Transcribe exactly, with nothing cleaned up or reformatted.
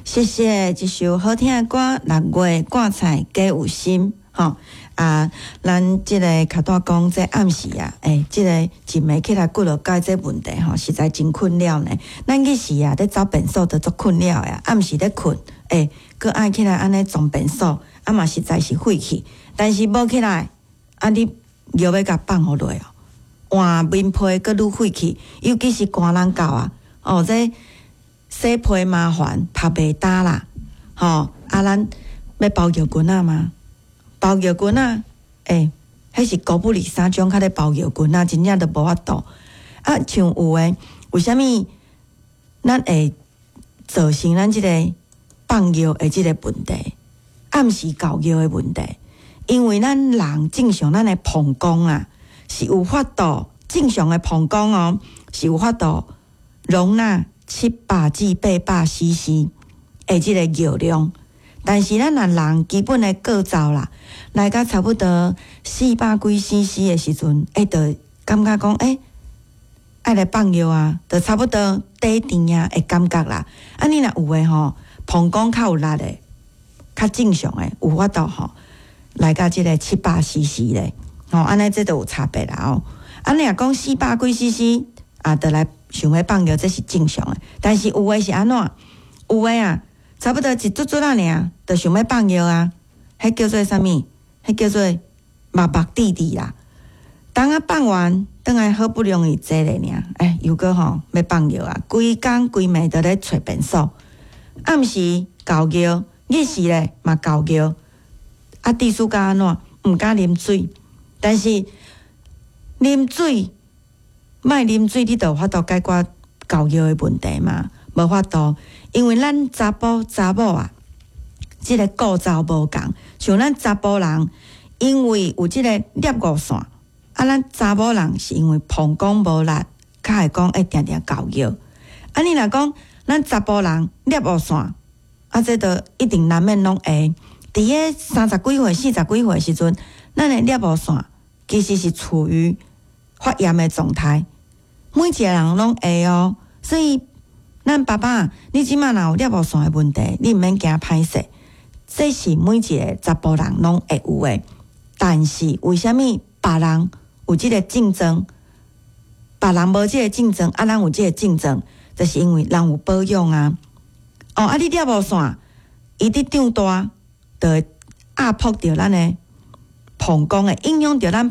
謝謝這首好聽的歌，六月掛菜加有心，吼啊！咱這个較大講，這暗時啊，欸，這個一暝起來骨落蓋這問題吼，實在真困擾呢。咱彼時啊，咧走便所都足困擾的，暗時咧睏，欸，閣愛起來按呢撞便所，啊嘛實在是費氣。但是無起來，啊你尿欲共放予落哦，換眠被閣愈費氣，尤其是寒人到啊，哦這洗被麻煩，曝袂焦啦，吼啊咱欲包尿裙仔嗎？包尿裙仔，欸，彼是狗不理三種較咧包尿裙仔，真正都無法度。啊，像有的，為啥物咱會造成咱這个放尿的這个問題？暗時猴尿的問題，因為咱人正常，咱的膀胱啊是有法度正常的膀胱哦，是有法度容納七百至八百 C C 的這个尿量。但是咱若人基本的構造啦，來到差不多四百幾 C C 的時陣，欸，就感覺講，欸，愛來放尿啊，就差不多底甜啊的感覺啦。啊，你若有的吼，膀胱較有力的，較正常的，有法度吼，來到這个七百 C C 咧，吼，按呢這就有差別啦哦。啊，你若講四百幾 C C 啊，就來想欲放尿，這是正常的。但是有的是按怎？有的啊，差不多一卒卒仔爾，就想欲放尿啊，彼叫做啥物？彼叫做目目滴滴啦。當仔放完，轉來好不容易坐咧爾，欸，又閣吼欲放尿啊！規工規暝都咧揣便所，暗時猴尿，日時咧嘛猴尿。啊，致使甲按怎？毋敢啉水，但是啉水，莫啉水，你就有法度解決猴尿的問題嘛？無法度，因為咱查埔查某啊，這个構造無仝，像咱查埔人，因為有這个攝護腺，啊，咱查某人是因為膀胱無力，較會講會定定猴尿。啊，你若講咱查埔人攝護腺，啊，這就一定難免攏會。佇咧三十幾歲、四十幾歲時陣，咱的攝護腺其實是處於發炎的狀態，每一個人攏會哦。所以，咱爸爸，你這馬若有攝護腺的問題，你毋免驚歹勢，這是每一個查埔人攏會有的。但是，為啥物別人有這个症狀，別人無這个症狀，啊，咱有這个症狀，就是因為人有保養啊。哦，啊，你攝護腺伊佇長大，就會壓迫著咱的膀胱，會影響著咱。